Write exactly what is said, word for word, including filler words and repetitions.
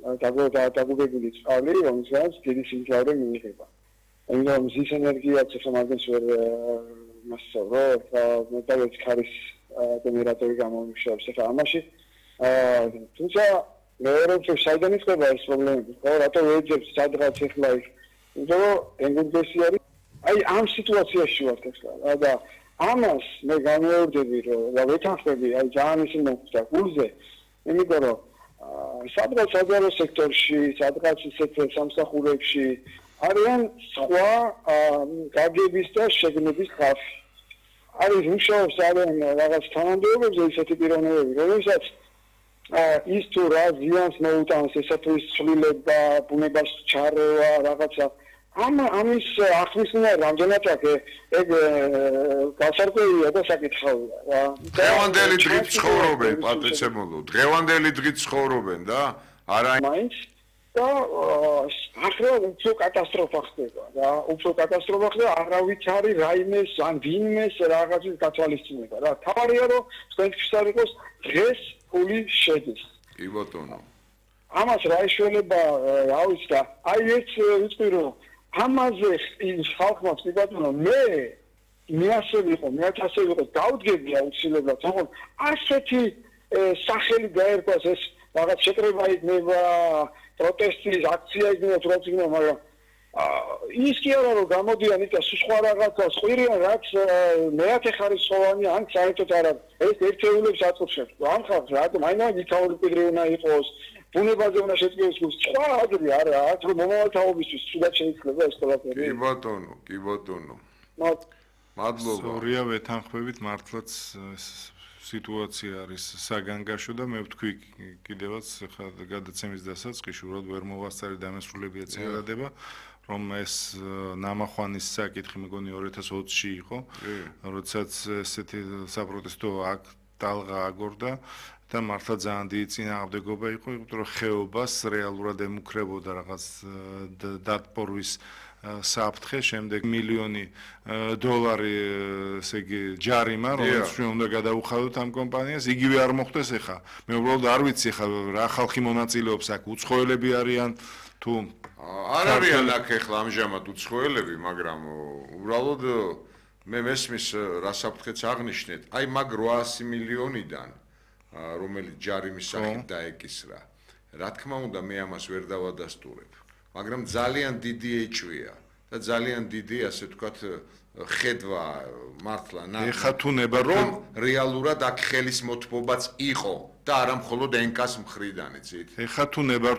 დაგუგებული წყალი, რომელსაც დიდი სიმძლავრე მიიღება. Იმიტომ მზის ენერგიაც ახლა მაგას ვერ მასწავრო, მეტალიც ქარის გენერატორი გამომუშავებს ახლა ამაში. თუმცა მეორე რომ საიდან იწყება ეს პრობლემები, ხო, რატო ვეძებს სადღაც ახლა იქ, იმიტომ რომ ენერგესი არის, აი ამ სიტუაციაში ვართ ახლა და ამას მე განვეორდები რომ და ვეთანხმები აი ძალიან ისე მოხდა გულზე, იმიტომ რომ სადღაც საჯარო სექტორში, სადღაც ისეთ სამსახურებში არიან სხვა გაგების და შეგნების ხალხი. არის მუშაობს ძალიან რაღაც თანამდებობებზე ისეთი პიროვნებები, რომელსაც ის თუ რა ზიანს მოუტანს ესეთის ცვლილება, ბუნებას ჩარევა, რაღაცა ამ ამის ახსნა რამდენად ეგ გასარკვევია და საკითხავია რა. დღევანდელი დღით ცხოვრობენ, პატრიცემულო, დღევანდელი დღით ცხოვრობენ და არა მაინც და ახლა უფრო კატასტროფა ხდება რა, უფრო კატასტროფა ხდება, არავით არის რაიმეს ან ვინმეს რაღაცის გათვალისწინება რა. თავარია რომ თქვენთვის არ იყოს დღეს ფული შედის. კი ბატონო. ამას რა ეშველება რა ვიცი და აი ეს ვიცი რომ ამაზე ის ხალხმა კი ბატონო მე მე ასე ვიყო, მე ასე ვიყო, დავდგები აუცილებლად, თქო ასეთი სახელი გაერკვას ეს რაღაც შეკრება იქნება, პროტესტის აქცია იქნება, თუ რაც იქნება, მაგრამ ის კი არა რომ გამოდიან იქ სხვა რაღაცა, ხვირიან რაც მეათე ხარისხოვანი ან საერთოდ არა, ეს ერთეულებს აწუხებს. ამ ხალხს რატომ აინა ვიქაური პირი უნდა იყოს, ბუნებაზე უნდა შეწყვეტოს, სხვა ადრე არა, აქ რომ მომავალთაობისთვის სულად შეიძლება ეს ყველაფერი. კი ბატონო, კი ბატონო. მადლობა. სწორია ვეთანხმებით მართლაც სიტუაცია არის საგანგაშო და მე ვთქვი კიდევაც ხა გადაცემის დასაწყისში უბრალოდ ვერ მოვასწარი დამესრულებია წინადადება რომ ეს ნამახვანის საკითხი მეგონი ორი ათას ოცში იყო როდესაც ესეთი საპროტესტო აქტ ტალღა აგორდა და მართლა ძალიან დიდი წინააღმდეგობა იყო იმიტომ რომ ხეობას რეალურად ემუქრებოდა რაღაც დატბორვის საფრთხე შემდეგ მილიონი დოლარი ესე იგი ჯარიმა რომელიც უნდა გადაუხადოთ ამ კომპანიას იგივე არ მოხდეს ახლა მე უბრალოდ არ ვიცი ახლა რა ხალხი მონაწილეობს აქ უცხოელები არიან თუ არ არიან აქ ახლა ამჟამად უცხოელები მაგრამ უბრალოდ მე მესმის რა საფრთხეც აღნიშნეთ აი მაგ რვაასი მილიონიდან რომელიც ჯარიმის სახით დაეკისრა რა თქმა უნდა მე ამას ვერ დავადასტურებ მაგრამ ძალიან დიდი ეჭვია და ძალიან დიდი ასე ვთქვათ ხედვა მართლა ეხა თუ ნებართვი რომ რეალურად აქ ხელის მოთმობაც იყო და არა მხოლოდ ენკას მხრიდან იცით ეხა თუ ნებართვი